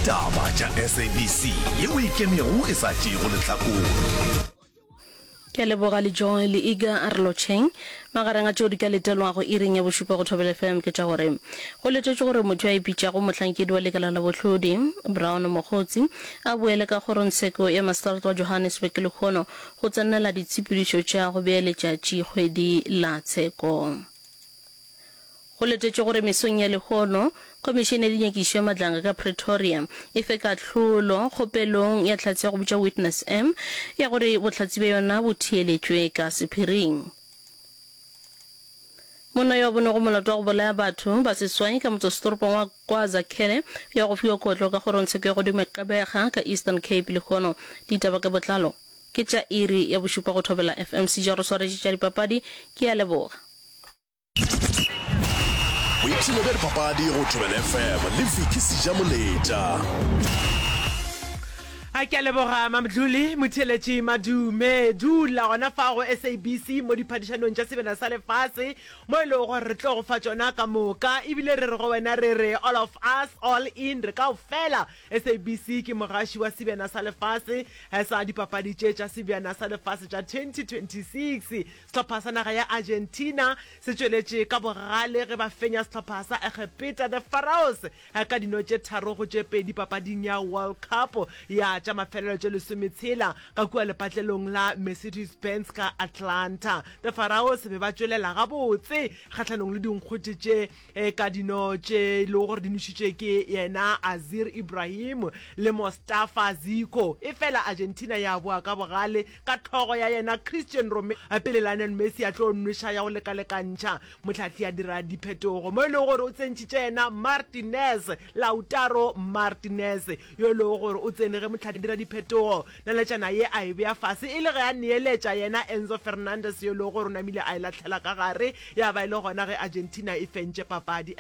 Taba tša SABC yeo e ikemego e sa tšeego lehlakore. Ke a leboga le Joy le Iga a re lotšheng. Magareng a tšeo di ka letelwago iring ya bošupa go Thobela FM ke tša gore go letetšwe gore motho yo a ipitšago mohlankedi wa lekala la bohlodi, Brown Mogotsi, a boele ka kgorongtsheko ya maseterata wa Johannesburg lehono go tsenela ditshepedišo tša go bea letšatšikgwedi la tsheko. Go letetšwe gore mesong ya lehono, Khomišene ya Dinyakišišo ya Madlanga ka Pretoria e fe kahlolo kgopelong ya hlatse ya go bitšwa Witness M ya gore bohlatse bja yona bo theeletšwe ka sephiring. Monna yo a bonego molato wa go bolaya batho ba seswai ka motsesetoropong wa KwaZakhele ya go fiwa kotlo ka kgorongtsheko ya godimo ya Gqeberha ka Eastern Cape lehono. Ditaba ka botlalo ke tša iri ya bošupa go Thobela FM. Seja re swaretše tša dipapadi. Ke a leboga. Boipshino bja dipapadi go Thobela FM le Vicky Sejamoletša. A ke a leboga Mamdluli Motheeletši Madume. Dula gona fa go SABC mo diphadišanong tša Sebjana sa Lefase mo e lego gore re tlo go fa tšona ka moka. Ebile re re go wena re re all of us all in, re kaofela. SABC ke mogaši wa Sebjana sa Lefase sa dipapadi tše tša Sebjana sa Lefase tša 2026. Sehlopha sa naga ya Argentina se tšweletše ka bogale ge ba fenya sehlopha sa Egepeta, The Pharaohs, ka dino tše tharo go tše pedi papading ya World Cup ya tša mafelelo tše lesometshela ka kua lepatlelong la Mercedes-Benz ka Atlanta. The Pharaohs be ba tšwelela gabotse kgahlanong le dinkgwete tše ka dino tše e lego gore di nošitšwe ke yena Azir Ibrahim le Mostafa Zico. Efela Argentina ya boa ka bogale Ka hlogo ya yena Christian Romero pele Lionel Messi a tlo nweša ya go lekalekantšha, mohlahli a dira diphetogo mo e lego gore o tsentšhitše yena Martinez, Lautaro Martinez, yo e lego gore o tsene ge mohlahli a dira diphetogo. Naletšana ye a e bea fase e le ge a neeletša yena Enzo Fernandez yo e lego gore o namile a e lahlela ka gare, ya ba e le gona ge Argentina e fentše papadi.